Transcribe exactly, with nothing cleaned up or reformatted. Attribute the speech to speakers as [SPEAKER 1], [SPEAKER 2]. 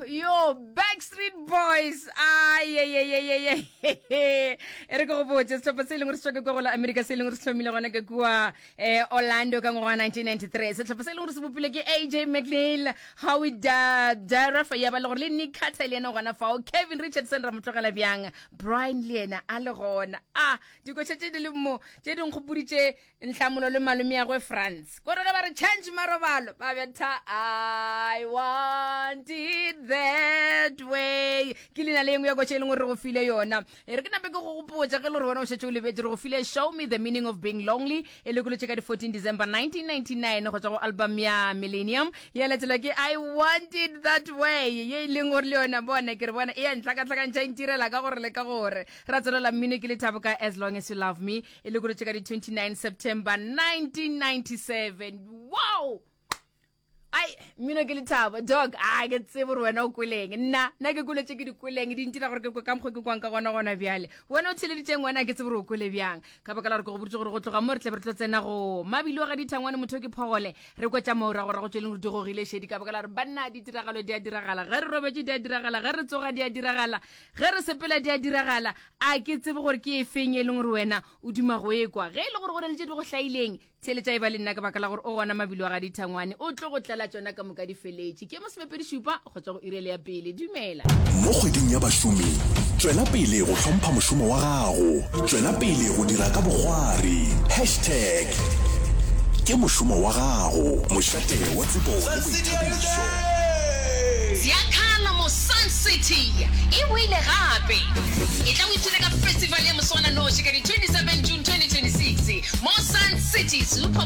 [SPEAKER 1] Yo, Backstreet Boys. Ay, ay, ay, ay, ay, ay. E re ke go botse sehlopha se e leng gore se tšwa ke kwa go la America se e leng gore se hlomile gona ke kua eh, Orlando ka ngwaga wa nineteen ninety-three. Sehlopha se e leng gore se bopilwe ke A J McNeil, Howie Da- Daraff, ya ba le gore le Nick Carter le yena gona fao, Kevin Richardson ra mo tlogela bjang, Brian le yena a le gona. Ah, dikoša tše di le mo tše di nkgopoditše Nhlamulo le malomeagwe France. Kore ge ba re change marobalo, ba betha I want it that way. Ke leina le engwe ya koša e leng gore re go file yona. E re ke nape ke go gopotša ge le gore wena o šetše o lebetše, re go file Show Me the Meaning of Being Lonely e lekolotše ka di fourteen December nineteen ninety-nine go tšwa go album ya Millennium. Ya latelwa ke I Want It That Way ye e leng gore le yona bona ke re bona e ya ntlhakatlhakantšha e ntirela ka gore le ka gore. Ra tswelela mmino ke Lethabo ka As Long As You Love Me e lekolotše ka di twenty-nine September nineteen ninety-seven. Wow! Ai, mmino ke Lethabo dog, a ke tsebe gore wena o kweleng. Nna nna ke kwele tše ke di kweleng, di ntira gore ke kwe ka mokgwa ke kwang ka gona gona bjale. Wena o theleditšeng wena ke tsebe gore o kwele bjang, ka baka la gore ke go boditše gore go tloga mo re tle re tlo tsena go mabilo ga dithangwane motho ke phogole re kwetša morago rago tše leng gore di gogile šedi, ka baka la gore banna ditiragalo di a diragala ge re robetše, di a diragala ge re tsoga, di a diragala ge re sepela, di a diragala. A ke tsebe gore ke efeng e leng gore wena o duma go ekwa. Ge e le gore go na le tše di go hlaileng, theeletša e ba le nna, ka baka la gore o gona mabilo a ga dithangwane o tlo go tlela tšona ka moka di feletše. Ke masomepedi šupa go tšwa go irele ya pele. Dumela.
[SPEAKER 2] Mo kgweding ya bašomi, tšwela pele go hlompha mošomo wa gago, tšwela pele go dira ka bokgwari. Hashtag ke mošomo wa gago, mošate wa tsebo le boithabišo.
[SPEAKER 1] Ziakhala mo Sun City e boile gape. E tla o ipshine ka festival ya moswananoši ka di twenty-seven June twenty twenty-six mo Sun City Super.